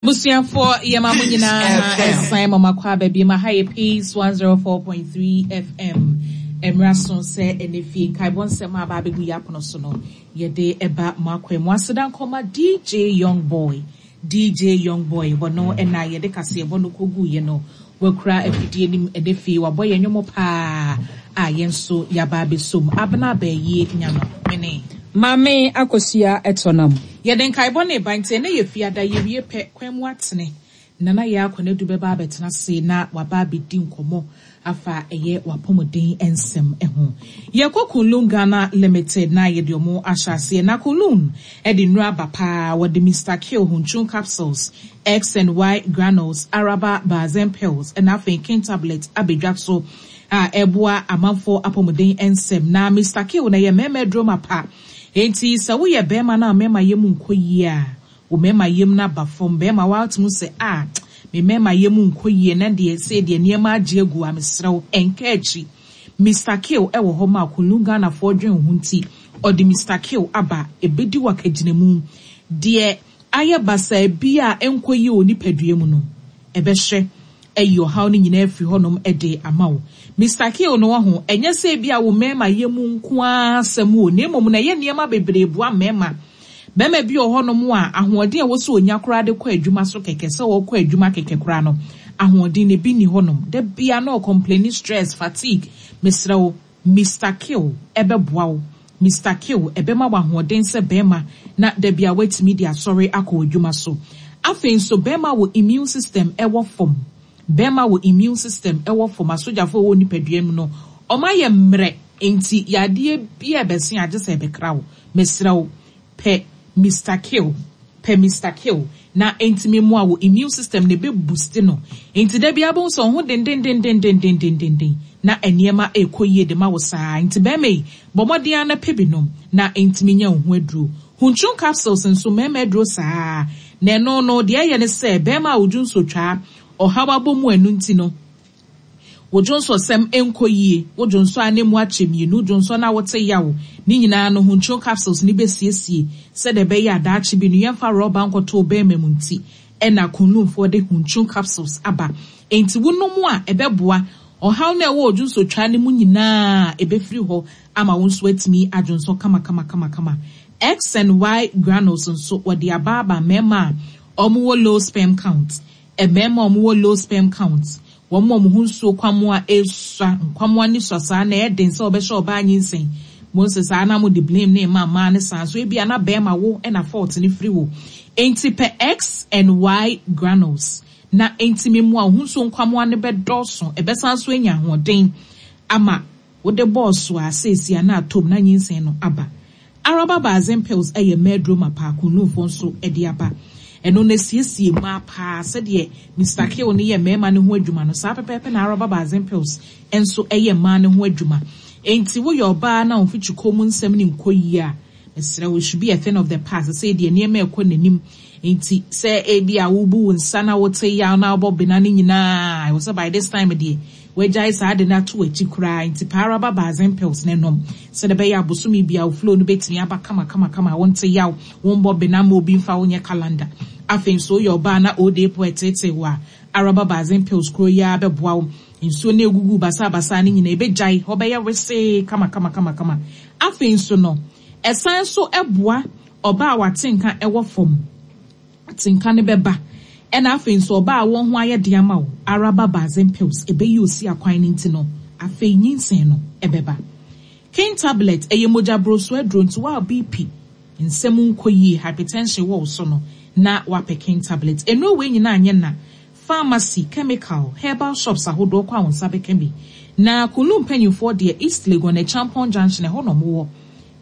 Abusuafoɔ yɛma mo nyinaa ɛsan ma mo akɔ aba biom. Aha yɛ Peace 104.3 FM. Ɛmmra so sɛ ɛnɛ fie nkaebɔ nsɛm a aba abɛgu yɛ apono so no yɛde ɛba mo akwan mu. Aseda nkɔma DJ Young Boy. DJ Young Boy wɔno ɛna yɛde kaseɛbɔ no kɔguiɛ no. Wakura afidie no mu ɛnɛ fie wabɔ yɛn nnwom paa a yɛn nso yɛaba abɛsom. Abena Abayie Nyano mene. Maame Akosua Ɛtɔnam. Yɛde nkaebɔ no reba nti ɛnnɛ yɛ Fiada, yɛwie pɛ, kwan mu atene. Nana Yaa Konadu bɛba abɛtena ase na waba abɛdi nkɔmmɔ afa ɛyɛ w'apɔmuden nsɛm ho. Yɛkɔ Kunlun Ghana Limited na yɛde wɔn ahyɛ aseɛ. Na Kunlun de nnuro aba paa, wɔde Mister Kill Hunchun Capsules, X and Y Granules, Araba Bazen Pills ɛna afei King Tablet abɛdwa so a ɛboa amanfoɔ apɔmuden nsɛm. Na Mister Kill no ɛyɛ mmarima aduro mapa. Enti sɛ woyɛ barima na wo mmarima yɛ mu nkɔ yie a, wo mmarima yam no aba fam. Barima woatumi hu sɛ ah me mmarima yam nkɔ yie na deɛ sei deɛ nneɛma agye agu a, mesrɛ wo nka akyi. Mister Kill wɔ hɔ ma Kunlun Ghanafoɔ dwen wo ho nti ɔde Mister Kill aba ɛbɛdi wo akagyinamu. Deɛ ayɛ basaa biara a ɛnkɔ yie wɔ wo nipadua mu no, ɛbɛhwɛ ayi ɔhaw no nyinaa afiri hɔnom de ama wo. Mister Kill no wahu, ɛnyɛ sɛ ebia wo mmarima yɛ mu nko ara asɛm o, na mmom no ɛyɛ nneɛma bebree boa mmarima. Barima bi wɔ hɔnom a, ahoɔden a ɛwɔ sɛ ɔnya koraa de kɔ adwuma so kɛkɛ, sɛ ɔrekɔ adwuma kɛkɛ koraa no, ahoɔden no ebi nni hɔnom. Da biara na ɔcomplaini stress, fatigue. Mesrɛ wo, Mister Kill ɛbɛboa wo. Mister Kill ɛbɛma wo ahoɔden sɛ barima na da biara woatumi de asɔre akɔ w'adwuma so. Afei nso barima wɔ immune system ɛwɔ fam. Barima wɔ immune system ɛwɔ fam, asogyafo a ɛwɔ wo nipadua mu no wɔayɛ mmerɛ nti yadeɛ biara ɛbɛse a gye sɛ ɛbɛkra wo. Mesrɛ wo pɛ Mister Kill, pɛ Mister Kill na ɛntumi mmoa wo immune system no ɛbɛ boost no nti da biara wobɛhu sɛ wo ho dendendendendendendenden na nneɛma ɛrekɔ yie de ma wo saa nti barima yi bɔ mmɔden ara na pɛ bi nom na ɛntumi nyɛ wo ho aduro. Huntun capsules nso mmarima aduro saa na ɛno no deɛ ɛyɛ ne sɛ barima a wo dwonsotwaa ɔhaw abɔ mu ɛno nti no Wo dwonsɔsɛm nkɔ yie, wo dwonsɔ a na emu akyɛ mmienu, dwonsɔ no a wote yaw, ne nyinaa no Huntun capsules no bɛsiesie sɛdeɛ ɛbɛyɛ a daakye bi no yɛmfa rɔba nkɔto wo bɛɛma mu nti na Kunlunfoɔ de Huntun capsules aba. Enti wonom a ɛbɛboa ɔhaw no a ɛwɔ wo dwonsɔtwaa no mu nyinaa ɛbɛfiri hɔ ama wo nso atumi adwonsɔ kamakamakamakama. X and Y granules nso wɔde aba aba mmarima a wɔwɔ low sperm count. Mmarima a wɔwɔ low sperm count, wɔn a wɔn ho nsuo kwammoa resua, nkwammoa no sua saa na ɛyɛ den sɛ wɔbɛhyɛ ɔbaa nyinsɛn. Mohu sɛ saa na mode blame no rema mmaa no saa nso ebia na barima wo na fault no firi wo. Enti pɛ X and Y granules na ɛntumi mmoa wo ho nsuo nkwammoa no bɛdɔɔso, ɛbɛsan nso anya ahoɔden ama wode bɔɔ so a seesei a na atɔ mu na nyinsɛn no aba. Araba Bazen Pills yɛ mmaa aduro mapa a Kunlunfoɔ nso de aba. Ɛno no ɛsiesie mmaa paa sɛdeɛ Mister Kill no yɛ mmarima no ho adwuma no, saa pɛpɛɛpɛ na Araba Bazen Pills nso yɛ mmaa no ho adwuma. Enti woyɛ ɔbaa na wo mfikyikɔ mu nsɛm no nkɔ yie a, mesrɛ wo, it should be a thing of the past. Sesei deɛ nneɛma rekɔ n'anim nti sɛ ebia wobu wo nsa na wote yaw na wobɔ bena no nyinaa, ɛwɔ sɛ by this time deɛ Wagyae saa ade no ato w'akyi koraa nti pɛ ara ba Bazen pills no nom sɛdeɛ ɛbɛyɛ a bosome biara wo flow no bɛtumi aba kamakamakama a wonte yaw, wombɔ bena mma obi mfa wo nyɛ calendar. Afei nso woyɛ ɔbaa na old age po ɛteetee wo a, Araba Bazen pills koro yi ara bɛboa wo. Nsuo no a ɛgugu wo basaabasaa no nyinaa ɛbɛgyae, hɔ bɛyɛ wesee kamakamakama. Afei nso no, ɛsan nso boa ɔbaa a w'atenka wɔ fam. Atenka no bɛba. Ɛna afei nso ɔbaa a wɔn ho ayɛ den ama wo ara ba Bazen pills ɛbɛyi osi akwan no nti no afei nyinsɛn no ɛbɛba. King tablet ɛyɛ mogya broso aduro nti wo a BP nsɛm nkɔ yie hypertension wɔ wo so no na wapɛ king tablet. Nnuro wei nyinaa nyɛ na pharmacy, chemical, herbal shops ahodoɔ kɔ a wo nsa bɛka bi. Na Kunlu mpanyinfoɔ deɛ East Legon Acheampong junction ɛhɔ na wɔwɔ.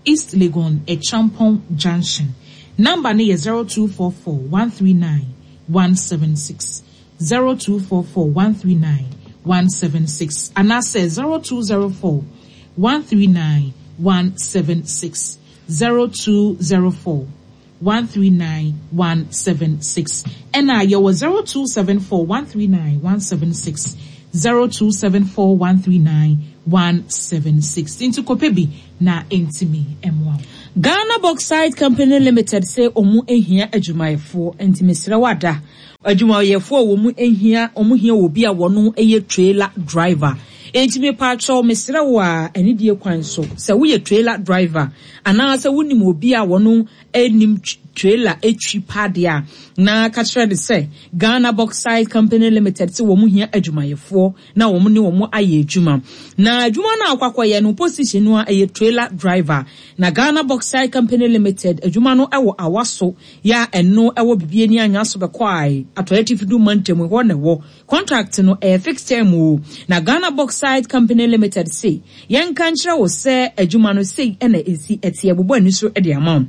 East Legon Acheampong Junction. Number no yɛ 0244 139 176, 0244 139 176 anaasɛ 0204 139 176, 0204 139 176. Ɛna yɛwɔ 0274 139 176, 0274 139 176. Nti kɔpɛ bi na ɛntumi mmoa wo. Ghana Bauxite Company Limited se wɔn hia adwumayɛfoɔ nti mesrɛ wo ada. Adwumayɛfoɔ a wɔn hia, wɔn hia obi a wɔn yɛ trailer driver. Enti mepaakyɛw mesrɛ wo a anidie kwan so sɛ woyɛ trailer driver anaa sɛ wonim obi a wɔn nim trailer twi paa deɛ a na ka kyerɛ no sɛ Ghana Bauxite Company Limited se wɔn hia adwumayɛfoɔ na wɔn ne wɔn ayɛ adwuma. Na adwuma no a wokɔ akɔyɛ no position no a ɛyɛ trailer driver. Na Ghana Bauxite Company Limited adwuma no wɔ Awaso yɛ a ɛno ɛwɔ Bibiani Anyaso Bɛkɔae, Atɔeɛ Atifi Du mantam ɛhɔ na ɛwɔ. Contract no ɛyɛ fixed term o. Na Ghana Bauxite Company Limited se yɛnka nkyerɛ wo sɛ adwuma no sei na ɛsi ɛteɛ bobɔ ani so de ama wo.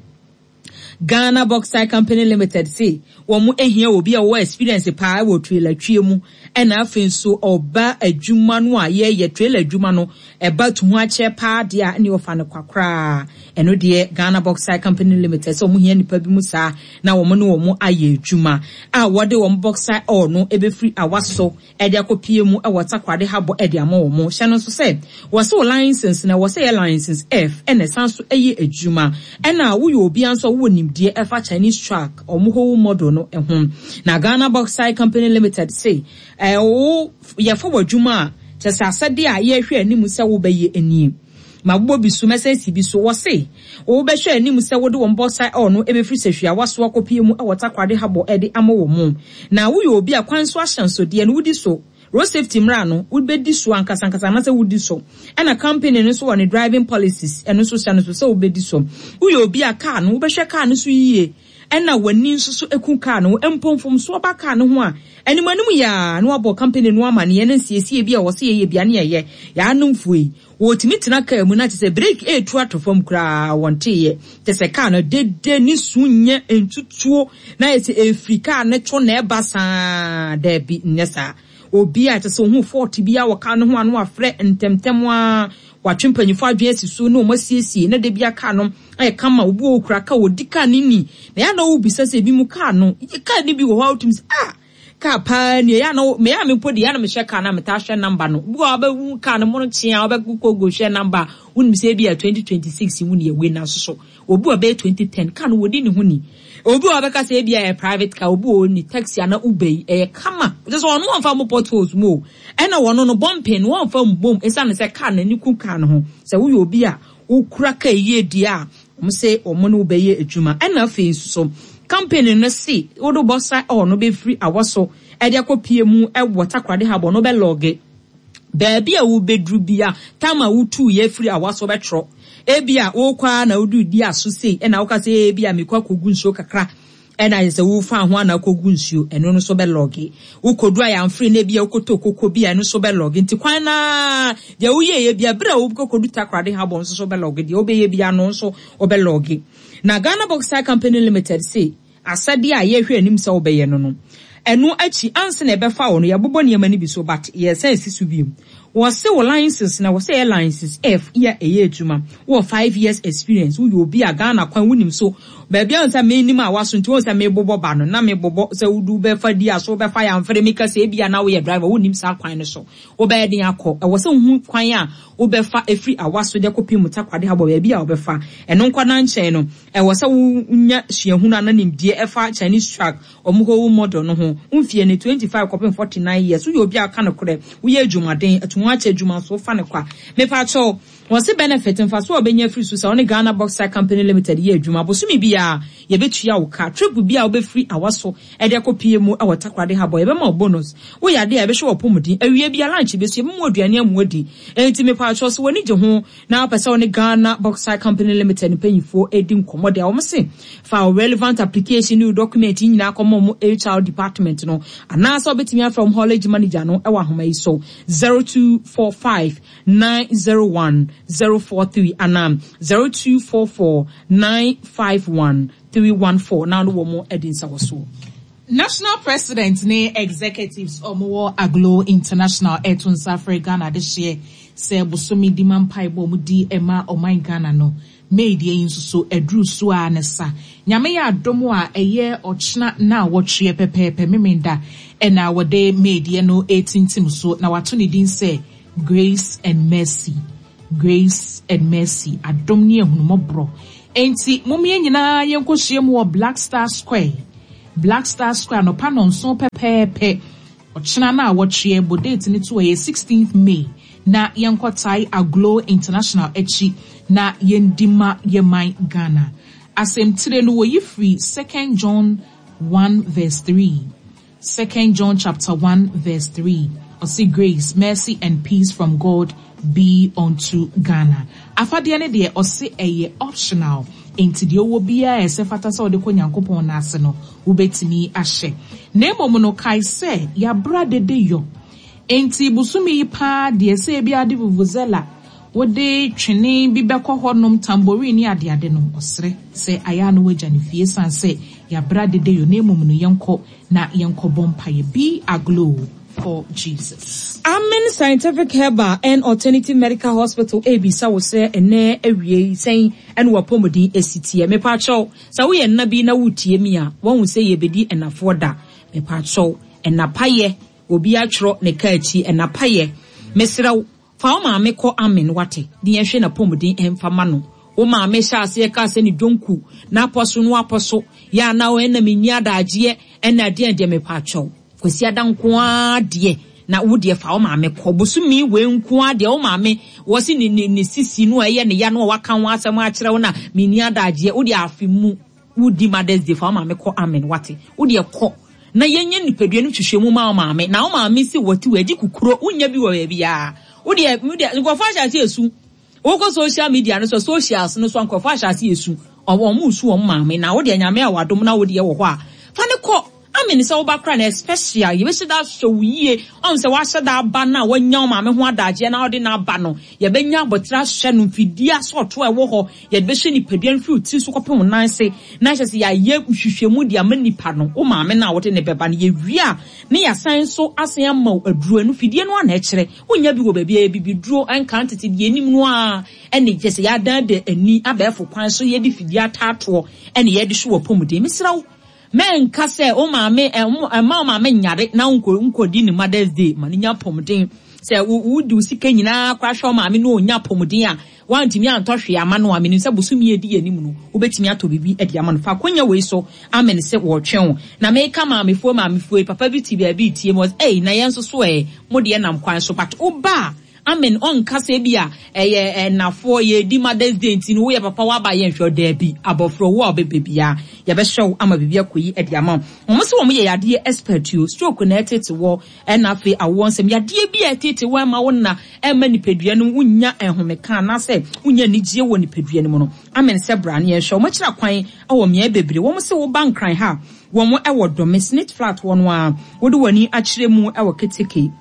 Ghana Bauxite Company Limited se wɔn hia obi a ɔwɔ experience paa wɔ trailer twie mu ɛna afei nso ɔba adwuma no a yɛyɛ trailer adwuma no ɛba tu ho akyɛ paa deɛ a ɛne ɔfa no kwa koraa. Ɛno deɛ Ghana Bauxite Company Limited sɛ wɔn hia nipa bi mu saa na wɔn ne wɔn ayɛ adwuma a wɔde wɔn bauxite ore no ɛbɛfiri Awaso de akɔpue mu wɔ Takoradi Harbour de ama wɔn. Hyɛ no nso sɛ, wɔse wo license no, ɛwɔ sɛ ɛyɛ license F na ɛsan so yɛ adwuma. Ɛna woyɛ obiara nso a wowɔ nimdeɛ ɛfa Chinese truck, wɔn whole model no ho. Na Ghana Bauxite Company Limited se, wo yɛfa w'adwuma a, kyerɛ sɛ asɛdeɛ a yɛrehwɛ anim sɛ wobɛyɛ nie. Mabobɔ bi so, mɛsan asi bi so. Wɔse, wobɛhwɛ anim sɛ wode wɔn bauxite ore no bɛfiri Sahwiawa so akɔpue mu wɔ Takoradi Harbour de ama wɔn. Na woyɛ obi a kwan so ahyɛnsodeɛ no wodi so, road safety mmara no wobɛdi so ankasa ankasa anaasɛ wodi so. Ɛna company no nso wɔ ne driving policies, ɛno nso hyɛ no so sɛ wobɛdi so. Woyɛ obi a car no wobɛhwɛ car no so yie ɛna w'ani nso so ku car no ho. Mpo mfomsoɔ ba car no ho a, anim anim yɛ ara na woabɔ company no amaneɛ na nsiesie bi a ɛwɔ sɛ yɛyɛ biara na yɛyɛ. Yɛanomfoɔ yi, Wɔtumi tena kaa mu na kyerɛ sɛ breki retu ato fam koraa wɔnteeɛ. Kyerɛ sɛ kaa no dede ne su nyɛ ntutuo na ayɛ sɛ ɛfiri kaa no to na ɛba saa. Daabi, nyɛ saa. Obi a kyerɛ sɛ ɔhu fault biara wɔ kaa no ho a na wafrɛ ntɛmntɛm ara, watwe mpanyinfoɔ adwene asi so na wɔasiesie na da biara kaa no ayɛ kama. Obi wɔ hɔ ɔkura kaa, ɔdi kaa no ni. Na ɛyɛ a na wobisa sɛ ebinom kaa no, kaa no bi wɔ hɔ a wotumi sɛ ah! Car paa ni ɛyɛ a na me a me mpo deɛ ɛyɛ a na mehwɛ car no a metaa hwɛ number no bi wɔ hɔ a wobɛhu car no mono kyea wobɛkɔ go hwɛ number a wonim sɛ ebi a 2026 mu ne ɛwei nanso so obi wɔ bɛyɛ 2010 car no wɔdi ne ho ni obi wɔ bɛka sɛ ebi a ɛyɛ private car obi wɔ ni taxi ana Uber yi ɛyɛ kama kyerɛ sɛ ɔno wɔmfa mo potholes mu o ɛna wɔno no bumping no wɔmfa mbom ɛsiane sɛ car no ani ku car no ho sɛ woyɛ obi a wokura car yie deɛ a Wɔn se wɔn ne wo bɛyɛ adwuma. Ɛna afei nso so, company no se wode wo bɔsa ɔɔ no bɛfiri awɔ so de akɔ pie mu wɔ Takoradi Harbour no wobɛ lɔge. Baabi a wobɛduru bia, time a wotuiɛ firi awɔ so wobɛtwerɛ. Ebia wokɔ ara na woduru di aso sei ɛna woka sɛ ebia mekɔ akɔgu nsuo kakra Ɛna ayɛ sɛ wofa ho ana akɔgu nsuo, ɛno no nso bɛlɔge. Wokɔdu Ayamfre na ebia wokɔtɔ koko bi a, ɛno nso bɛlɔge. Nti kwan no ara, deɛ woyɛeɛ biara, berɛ a wokɔkɔdu Takoradi Harbour nso so bɛlɔge. Deɛ wobɛyɛ biara no nso wobɛlɔge. Na Ghana Bauxite Company Limited se asɛdeɛ a yɛrehwɛ anim sɛ wobɛyɛ no no, ɛno akyi ansa na yɛbɛfa wo no, yɛabobɔ nneɛma no bi so but yɛresan asi so bio. Wɔse wo license no ɛwɔ sɛ ɛyɛ license F yɛ a ɛyɛ adwuma, wowɔ 5 years experience, woyɛ obi a Ghana kwan wonim so, baabi a wohu sɛ menim a waso nti wohu sɛ mebobɔ ba no na mebobɔ sɛ wode wobɛfa di a so wobɛfa yamfere meka sɛ ebia na woyɛ driver wonnim saa kwan no so wobɛyɛ den akɔ ɛwɔ sɛ wohu kwan a wobɛfa ɛfiri awaso de akɔpem Takoradi Harbour baabi a wobɛfa ɛno nkɔ na nkyɛn no ɛwɔ sɛ wonya suahunu anaa nimdeɛ ɛfa Chinese truck Wɔn whole model no ho. Wo mfeɛ ni, 25 kɔpem 49 years, woyɛ obi a woka nokorɛ, woyɛ adwumaden, atuhoakyɛ adwuma nso wofa no kwa. Mepakyɛw, wɔse benefit, mfasoɔ a wobɛnya afiri so sɛ wo ne Ghana Bauxite Company Limited yɛ adwuma, bosome biara yɛbɛtua wo ka, trip biara a wobɛfiri Awaso de akɔpue mu wɔ Takoradi Harbour yɛbɛma wo bonus, woyɛ adeɛ a yɛbɛhwɛ w'apɔmuden, awia biara lunch bɛso yɛbɛma wo aduane ama woadi. Enti mepakyɛw sɛ w'ani gye ho na wopɛ sɛ wo ne Ghana Bauxite Company Limited mpanyinfoɔ di nkɔmmɔ deɛ a, wɔn se fa wo relevant application ne wo document nyinaa kɔma wɔn HR department no, anaasɛ wobɛtumi afrɛ wɔn haulage manager no wɔ ahoma yi so, 0245 901 043 anaa 0244 951 314 na wo ne wɔn adi nsawɔsoɔ. National President ne Executives a wɔwɔ Aglow International reto nsa afrɛ Ghana adehyeɛ sɛ bosome di ma mpaebɔ a wɔdi ma ɔman Ghana no, May deɛ yi nso so aduru so ara ne sa. Nyame yɛ adom a ɛyɛ ɔkyena naawɔtweɛ pɛpɛɛpɛ Memenda na wɔde May deɛ no retintim so na wɔato ne din sɛ Grace and Mercy. Grace and Mercy, adom ne ahunumɔborɔ. Enti mom yɛn nyinaa yɛnkɔhyia mu wɔ Black Star Square, Black Star Square anɔpa nnɔnson pɛpɛɛpɛ, ɔkyena no a wɔtweɛ, bɔ date no to ɛyɛ 16th May, na yɛnkɔ tae Aglow International akyi na yɛndi ma yɛn man Ghana. Asɛmtire no wɔyi firi Second John 1 verse 3. Second John chapter 1 verse 3. Ɔse grace, mercy and peace from God be unto Ghana. Afadeɛ no deɛ ɔse ɛyɛ optional, enti deɛ ɔwɔ biara a ɛsɛ fata sɛ ɔde kɔ Nyankopɔn nan ase no, wobɛtumi ahyɛ. Na mmom no, kae sɛ yɛabra dede yɔ. Enti bosome yi paa deɛ sɛ ebia wode vuvuzela, wode twene bi bɛkɔ hɔnom, tambourine ne adeade no, ɔsrɛ sɛ ayɛ a na woagya no fie ɛsiane sɛ yɛabra dede yɔ. Na mmom no, yɛnkɔ na yɛnkɔbɔ mpaeɛ. Be aglow for Jesus. Amen Scientific Herbal and Alternative Medical Hospital rebisa wo sɛ ɛnnɛ awiei sɛn na w'apɔmuden si teɛ? Mepakyɛw, sɛ woyɛ nna bi na woretie me a, woahu sɛ yɛrebɛdi ɛnafoɔ da. Mepakyɛw, ɛna payɛ, obi atwerɛ ne kaa akyi, ɛna payɛ. Mesrɛ wo, Fa wo maame kɔ amen wate ne yɛnhwɛ napɔmuden mfa ma no wo maame hyɛ aseɛ kaa sɛ ne dwonku na apɔ so no apɔ so yɛ anaa ɛna menni adagyeɛ ɛna adeɛ deɛ mepaakyɛw Kwasiada nko ara deɛ na wo deɛ fa wo maame kɔ bosome wei nko ara deɛ wo maame wɔ se ne ne ne sisi no a ɛyɛ ne ya no a waka ho asɛm akyerɛ wo na menni adagyeɛ wo deɛ afe mu Wo di Mother's Day fa wo maame kɔ amen wate wo deɛ kɔ na yɛnyɛ nipadua no nhwehwɛmu ma wo maame na wo maame se wɔte wɔ agye kukuro wonya bi wɔ baabiara wo deɛ wo deɛ nkurɔfoɔ ahyɛ ase esu wokɔ social media no so socials no so nkurɔfoɔ ahyɛ ase esu wɔn resu wɔn maame na wo deɛ nyame a wadom na wo deɛ wɔ hɔ a fa ne kɔ Amen sɛ woba koraa na ɛyɛ special yɛbɛhyɛ da ahyɛ wo yie ɔhu sɛ wahyɛ da aba no a wanya wo maame ho adagyeɛ na wode no aba no yɛbɛnya abɔterɛ ahyɛ no mfidie asɔɔto a ɛwɔ hɔ yɛde bɛhyɛ nipadua no firi wo tiri so kɔpem wo nan ase na hyɛ sɛ yɛayɛ nhwehwɛmu de ama nipa no wo maame no a wode ne bɛba no yɛwie a ne yɛasan nso asan ama wo aduro ɛno fidie no a na ɛkyerɛ wonya bi wɔ baabi a bibiduro ɛnka ntete deɛ anim no a ɛne kyɛ sɛ yɛadan da ani abɛɛfo kwan so yɛde fidie ataatoɔ ɛne yɛde so wɔ pɔmuden mesrɛ wo Mɛnka sɛ wo maame, mma wo maame nyare na wonkɔdi ne Mother's Day. Ma no nya apɔmuden. Sɛ wode wo sika nyinaa koraa hwɛ wo maame na ɔnya apɔmuden a, woantumi antɔ hwee ama no a, menim sɛ bosome a ɛdi anim no, wobɛtumi atɔ biribi de ama no. Fa akwannya wei so amene sɛ wɔretwɛn wo. Na meka maamefoɔ maamefoɔ yi, papa bi te baabi retie me, ɔse, Ei, na yɛn nso so ɛ, mo deɛ nam kwan so, but woba a, Amen ɔnka sɛ ebia ɛyɛ ɛnafoɔ yɛredi mother's day nti no woyɛ papa woaba yɛnhwɛ wo daabi abɔfra wo a wobɛba biara yɛbɛhwɛ wo ama biribi akɔ yi de ama wo wɔn sɛ wɔn yɛ yadeɛ expert o stroke na ɛtete wɔ ɛna afei awoɔ nsɛm yadeɛ bi a ɛtete wɔ ɛma wo nna ɛma nipadua no wonya ɛhomeka anaasɛ wonya anigyeɛ wɔ nipadua no mu no amen sɛ bra ne yɛnhwɛ wɔn akyira kwan wɔ mmeae bebree wɔn sɛ woba nkran ha wɔn ɛwɔ dɔme snit flat hɔ no a wode w'ani akyerɛ mu ɛwɔ keteke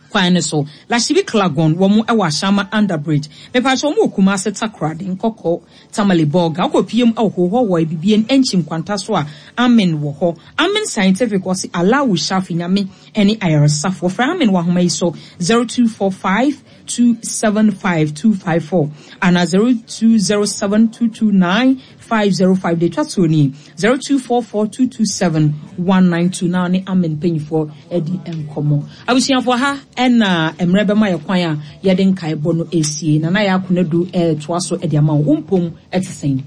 kwan no so. Lashibi Klagon wɔn wɔ Ashama under bridge. Mepakyɛw wɔn wɔ Kumasi Takoradi Nkɔkɔ Tamale Bolga. Wokɔ pie mu wɔ Hohoe wɔ Abibien Ɛnkyi Nkwanta so a Amen wɔ hɔ. Amen Scientific wɔse Allahu Shafi Nyame ne ayaresafo. Wɔfrɛ Amen wɔ ahoma yi so 0245 275 254 anaa 0207 229 505 deɛ ɛtwa toɔ nie 0244227192 na ne Amen mpanyinfoɔ adi nkɔmmɔ. Abusuafoɔ ha ɛna mmerɛ bɛma yɛ kwan a yɛde nkaebɔ no ɛresie. Nana Yaa Konadu ɛretoa so de ama wo. Wo mpom ɛte sɛn?